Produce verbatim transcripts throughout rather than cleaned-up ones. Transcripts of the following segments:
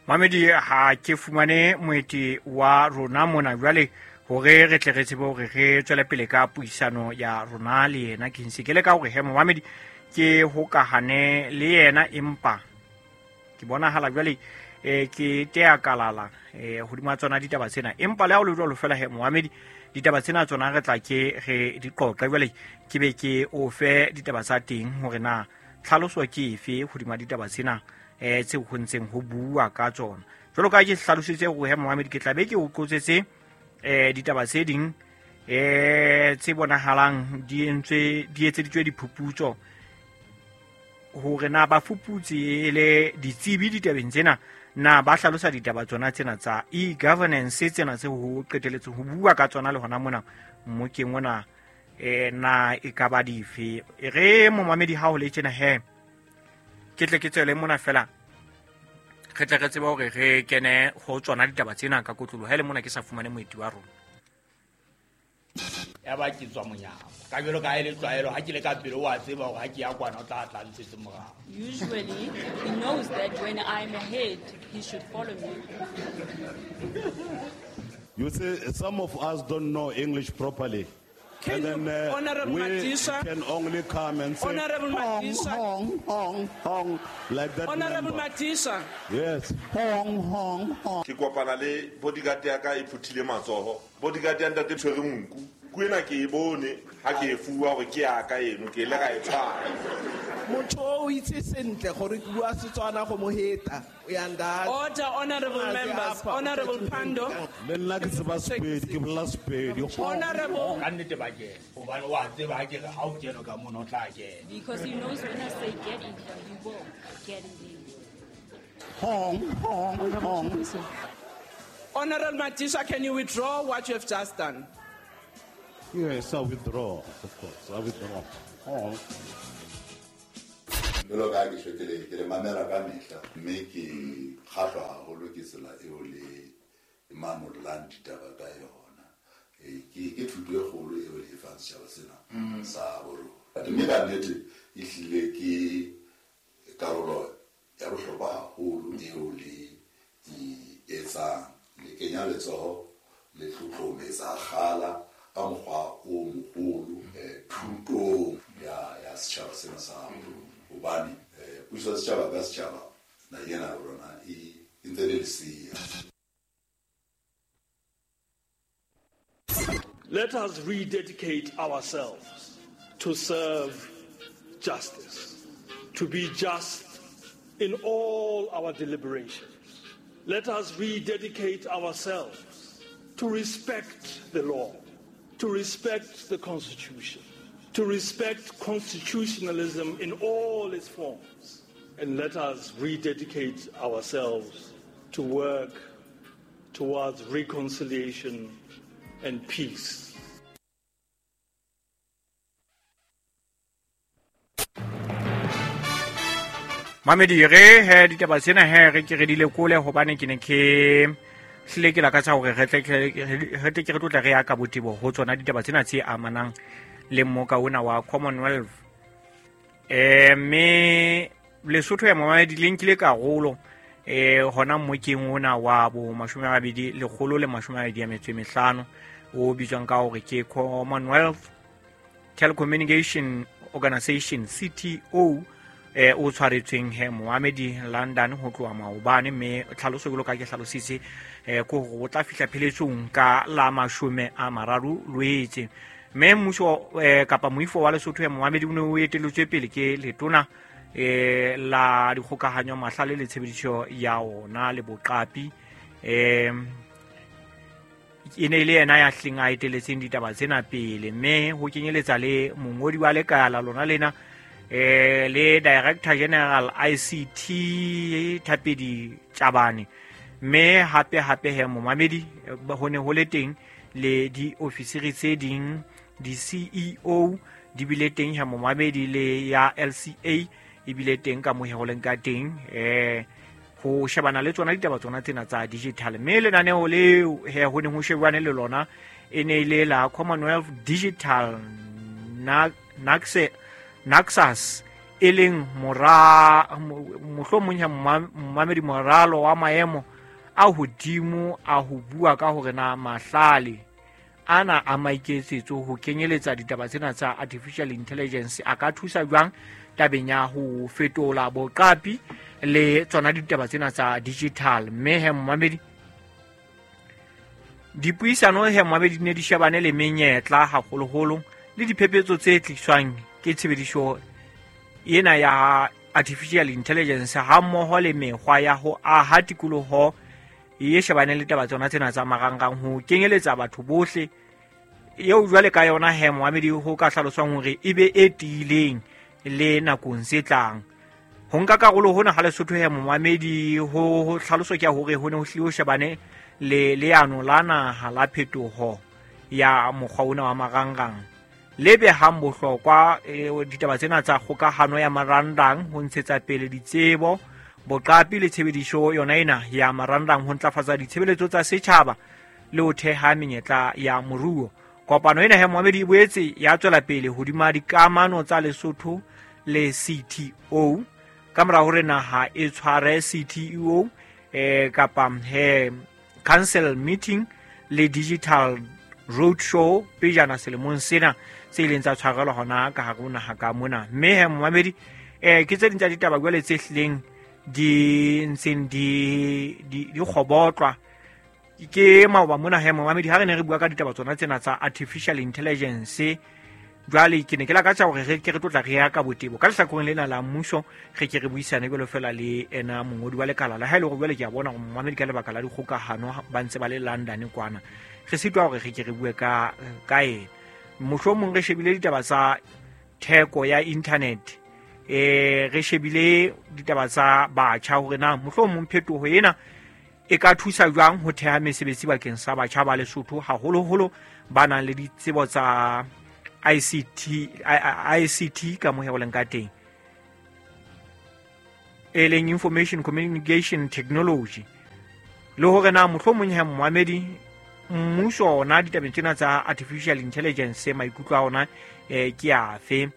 Mamedi ha ke fumane moeti wa rona mona jwale hore re tle re tsebe hore re tswele pele ka puisano ya rona le yena. Ke ntse ke le ka hore he momamedi ke hokahane le yena, empa ke bonahala jwale eh ke tea kalala eh hodima tsona ditaba tsena, empa le ha o le jwalo fela he momamedi ditaba tsena tsona re tla ke re di qoqa jwale ke be ke o fe ditaba tsa teng hore na tlhaloso ke efe hodima ditaba tsena eh tse ho ntseng ho bua ka tsona. Jwalo ka ke hlalositse hore he momamedi ke tla be ke o qotsetse eh ditaba tse ding eh tse bonahalang di entswe di etseditswe diphuputso hore na ba fuputse le ditsebi ditabeng tsena na ba hlalosa ditaba tsona tsena tsa e-governance tsena tse ho qeteletse ho bua ka tsona le hona mona mmokeng ona eh na e ka ba dife. E re momamedi ha ho le tjena he ke tle ke tswele mona fela re tle re tsebe hore re kene ho tsona ditaba tsena ka kotlolo ha le mona ke sa fumane moeti wa rona. Ya ba ke tswa monyako ka jwalo ka e le tlwaelo ha ke le ka pele wa tseba hore ha ke ya kwana o tla tla ntshetse morao. Usually he knows that when I'm ahead he should follow me. You see, some of us don't know English properly. Can and then you, uh, Honorable we Madisha, can only come and say Honorable hong, Madisha, hong, hong, hong, like that. Honorable member. Madisha. Yes. Hong, hong, hong. Ke kopana le bodyguard ya ka e phuthile matsoho. Bodyguard ya ntate tshwere nku. Ku ena ke e bone ha ke e fuwa hore ke ya ka eno ke ile ka e tshwara. Motho o itse sentle gore ke bua Setswana go mo heta. Order, honorable members. Honorable Pando. Le nna ke tseba Sepedi, ke bolela Sepedi. Honorable. Ka nnete ba kena. Hobane wa tseba ha ke re ha o kena ka mona o tla kena. Because he knows when I say get in here, he will get in there. Hong, hong, hong. Honorable Madisha, can you withdraw what you have just done? Yes, I withdraw, of course. I withdraw. Hong. Jwalo ka ha ke tjho ke le ke le mamela ka mehla mme ke kgahlwa haholo ke tsela eo le manollang ditaba ka yona. Ke ke thuto e kgolo eo le e fang setjhaba sena sa borona. Mme ka nnete e hlile ke karolo ya bohlokwa haholo eo le e etsang. Le kenya letsoho le tlotlometsa kgala ka mokgwa o moholo thutong ya ya setjhaba sena sa borona. Hobane puso ya setjhaba ka setjhaba naheng ena ya rona e ntse le lesea. Let us rededicate ourselves to serve justice, to be just in all our deliberations. Let us rededicate ourselves to respect the law, to respect the Constitution, to respect constitutionalism in all its forms. And let us rededicate ourselves to work towards reconciliation and peace. Mamedi re he ditaba tsena he re ke re di lekole hobane ke ne ke hlile ke lakatsa hore re tle re tle ke re tlotla re ya ka botebo ho tsona ditaba tsena tse amanang le mmoka ona wa Commonwealth. Eh mme Lesotho ya mamedi le nkile karolo eh hona mmokeng ona wa bo mashome a mabedi lekgolo le mashome a mabedi a metso e mehlano o bitswang ka hore ke Commonwealth Telecommunication Organization C T O eh o tshwaretsweng he Mohamedi London ho tloha maobane mme tlhaloso jwalo ka ke hlalositse eh ko hore o tla fihla pheletsong ka la mashome a mararo Loetse. Mme mmuso eh, kapa moifo wa Lesotho ya Mohamedi o ne o eteletswe pele ke letona eh la dikgokahanyo mahlale le tshebediso ya ona le boqapi eh e ne le yena ya hleng a eteletseng ditaba tsena pele mme ho kenyeletsa le mongodi wa lekala lona lena eh le Director General I C T Thapedi Tjabane mme hape hape he momamedi ho ne ho le teng le diofisiri tse ding di C E O di bile teng ha momamedi le ya L C A e bile teng ka mohe ho leng ka teng eh ho shebana le tsona ditaba tsona tsena tsa digital mme lenaneo leo he ho ne ho shebane le lona e ne ile la Commonwealth Digital Naxus e leng mora mohlomong ya momamedi moralo wa maemo a hodimo a ho bua ka hore na mahlale ana a maiketsetso ho kenyeletsa ditaba tsena tsa artificial intelligence a ka thusa jwang tabeng ya ho fetola boqapi le tsona ditaba tsena tsa digital. Mme he momamedi dipuisano he momamedi di ne di shebane le menyetla haholoholo le diphephetso tse tliswang ke tshebediso ena ya artificial intelligence ha mmoho le mekgwa ya ho aha tikoloho e shebane le taba tsona tsena tsa marangrang ho kenyeletsa batho bohle eo jwale ka yona he momamedi ho ka hlaloswang hore e be e tiileng le nakong tse tlang. Ho nka karolo hona ha Lesotho he momamedi ho hlaloso ke hore ho ne ho hlile ho shebane le leano la naha la phetoho ya mokgwa ona wa marangrang le behang bohlokwa ditaba tsena tsa kgokahano ya marangrang ho ntshetsa pele ditsebo boqapi le tshebediso yona ena ya marangrang ho ntlafatsa ditshebeletso tsa setjhaba le ho theha menyetla ya moruo. Kopano ena he momamedi e boetse ya tswela pele hodima dikamano tsa Lesotho le C T O ka mora hore naha e tshware C T O eh kapa he council meeting le digital roadshow pejana selemong sena se ileng tsa tshwarelwa hona ka hare ho naha ka mona. Mme he momamedi eh ke tse ding tsa ditaba jwale tse hlileng di ntseng di di di kgobotlwa ke maoba mona he momamedi ha re ne re bua ka ditaba tsona tsena tsa artificial intelligence. Jwale ke ne ke lakatsa hore re ke re tlotla re ya ka botebo ka lehlakoreng lena la mmuso re ke re buisane jwalo fela le ena mongodi wa lekala la ha ile hore jwale ke a bona hore momamedi ka lebaka la dikgokahano ba ntse ba le London kwana re sitwa hore re ke re bue ka ka ena. Mohlomong re shebile ditaba tsa theko ya internet eh re shebile ditaba tsa batjha hore na mohlomong phetoho ena e ka thusa jwang ho theha mesebetsi bakeng sa batjha ba Lesotho haholoholo ba nang le ditsebo tsa I C T I C T ka mo he leng ka teng e leng information communication technology le hore na mohlomong he momamedi mmuso ona ditabeng tsena tsa artificial intelligence maikutlo a ona eh ke afe.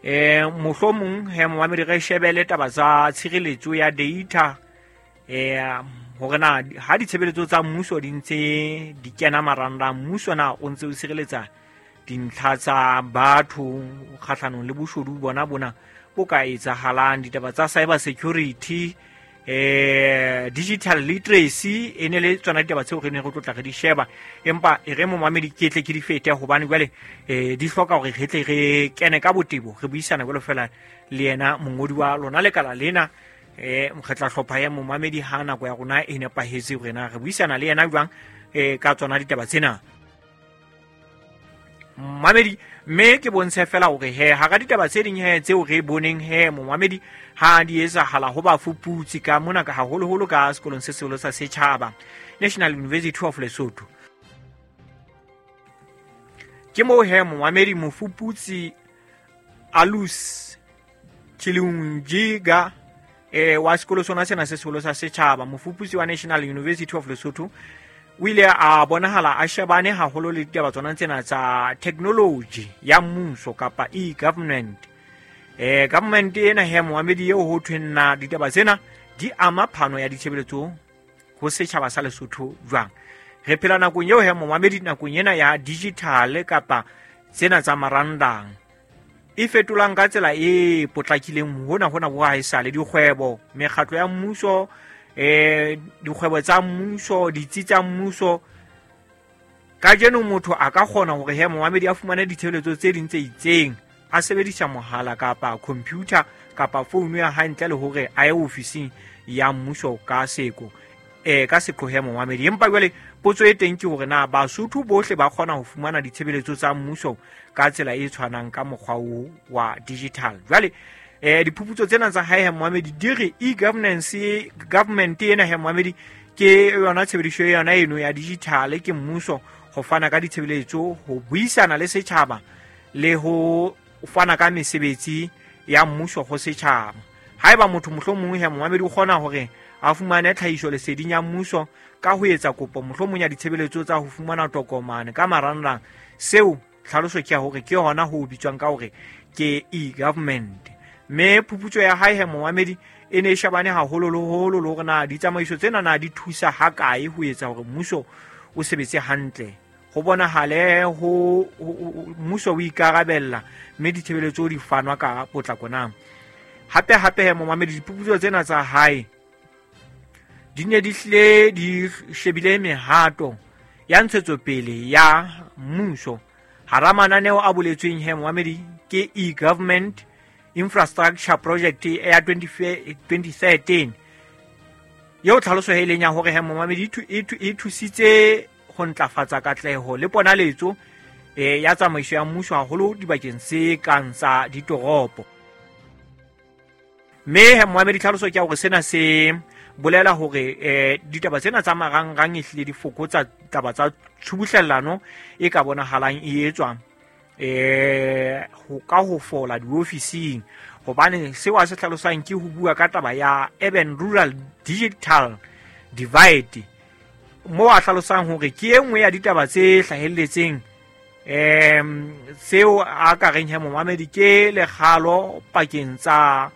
Eh mohlomong he momamedi re shebele taba tsa tshireletso ya data eh hore na ha ditshebeletso tsa mmuso di ntse di kena marangrang mmuso na o ntse o sireletsa dintlha tsa batho kgahlanong le boshodu bona bona bo ka etsahalang ditaba tsa cyber security eh digital literacy e ne le tsona ditaba tseo re ne re tlotla re di sheba empa e re momamedi ke tle ke di fete hobane jwale eh di hloka hore re tle re kene ka botebo re buisana jwalo fela le yena mongodi wa lona lekala lena eh re tla hlopha ya momamedi ha nako ya rona e nepahetse hore na re buisana le yena jwang eh ka tsona ditaba tsena momamedi. Mme ke bontshe fela hore he hara ditaba tse ding he tseo re boneng he momamedi ha di etsahala ho bafuputsi ka mona ka haholoholo ka sekolong se seholo sa setjhaba National University of Lesotho ke moo he momamedi mofuputsi Alus Chilunjiga eh wa sekolo sona sena se seholo sa setjhaba mofuputsi wa National University of Lesotho o ile a bonahala a shebane haholo le ditaba tsona tsena tsa technology ya mmuso kapa e-government. Eh government ena he momamedi eo ho thweng na ditaba tsena di ama phano ya ditshebeletso ho setjhaba sa Lesotho jwang. Re phela nakong eo he momamedi nakong ena ya digital kapa tsena tsa marangrang e fetolang ka tsela e potlakileng hona hona bo haesale dikgwebo mekgatlo ya mmuso eh dikgwebo tsa mmuso ditsi tsa mmuso. Kajeno motho a ka kgona hore he momamedi a fumane ditshebeletso tse ding tse itseng a sebedisa mohala kapa computer kapa founu ya hae ntle le hore a ye ofising ya mmuso ka seko eh ka seqo he momamedi. Empa jwale potso e teng ke hore na Basotho bohle ba kgona ho fumana ditshebeletso tsa mmuso ka tsela e tshwanang ka mokgwa o wa digital. Jwale eh diphuputso tsena tsa hae he momamedi di re e-governance government ena he momamedi ke yona tshebediso yona eno ya digital ke mmuso ho fana ka ditshebeletso ho buisana le setjhaba le ho fana ka mesebetsi ya mmuso ho setjhaba. Haeba motho mohlomong he momamedi o kgona hore a fumane tlhahiso leseding ya mmuso ka ho etsa kopo mohlomong ya ditshebeletso tsa ho fumana tokomane ka marangrang seo Tlhaloso ke ya hore ke hona ho bitswang ka hore ke e-government. Mme phuputso ya hae he momamedi e ne e shebane haholoholo le hore na ditsamaiso tsena na di thusa hakae ho etsa hore mmuso o sebetse hantle, ho bonahale ho mmuso o ikarabella mme ditshebeletso di fanwa ka potlako na. Hape hape he momamedi diphuputso tsena tsa hae di ne di hlile di shebile mehato ya ntshetsopele ya mmuso. Hara mananeo a boletsweng he momamedi ke e-government infrastructure project ya twenty thirteen eo tlhaloso e leng ya hore he momamedi e thusitse ho ntlafatsa katleho le ponaletso ya tsamaiso ya mmuso haholo dibakeng tse kang tsa ditoropo. Mme he momamedi tlhaloso ke ya hore sena se bolela hore eh ditaba tsena tsa marangrang e hlile di fokotsa taba tsa tshubuhlellano e ka bonahalang e etswa eh ho ka ho fola diofising, hobane seo a se hlalosang ke ho bua ka taba ya urban rural digital divide, moo a hlalosang hore ke e nngwe ya ditaba tse hlahelletseng em seo a ka reng he momamedi ke lekgalo pakeng tsa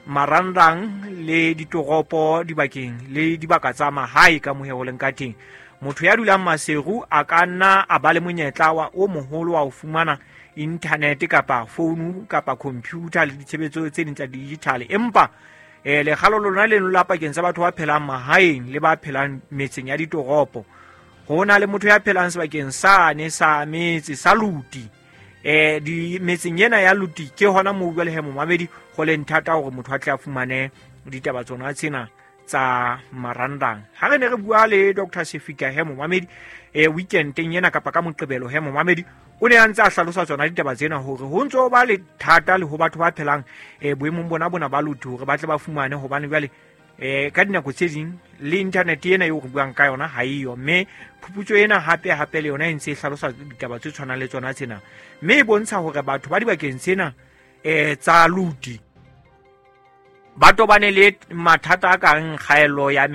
marangrang le ditoropo dibakeng le dibaka tsa mahae ka mohe ho leng ka teng. Motho ya dulang Maseru a ka nna a ba le monyetla wa o moholo wa ho fumana internet kapa founu kapa computer le ditshebetso tse ding tsa digital, empa eh lekgalo lona leno la pakeng tsa batho ba phelang mahaeng le ba phelang metseng ya ditoropo. Ho na le motho ya phelang sebakeng sane sa metse sa Luti, eh di metseng ena ya Luti ke hona moo jwale he momamedi ho leng thata hore motho a tle a fumane ditaba tsona tsena tsa marangrang. Ha re ne re bua le Doctor Sefika he momamedi eh weekendeng ena kapa ka Moqebelo he momamedi o ne a ntse a hlalosa tsona ditaba tsena hore ho ntso ba le thata le ho batho ba phelang eh boemong bona bona ba Luti hore ba tle ba fumane, hobane jwale eh ka dinako tse ding le internet ena eo re buang ka yona ha eyo. Mme phuputso ena hape hape le yona e ntse e hlalosa ditaba tse tshwanang le tsona tsena, mme e bontsha hore batho ba dibakeng tsena eh tsa Luti ba tobane le mathata a kang kgaello ya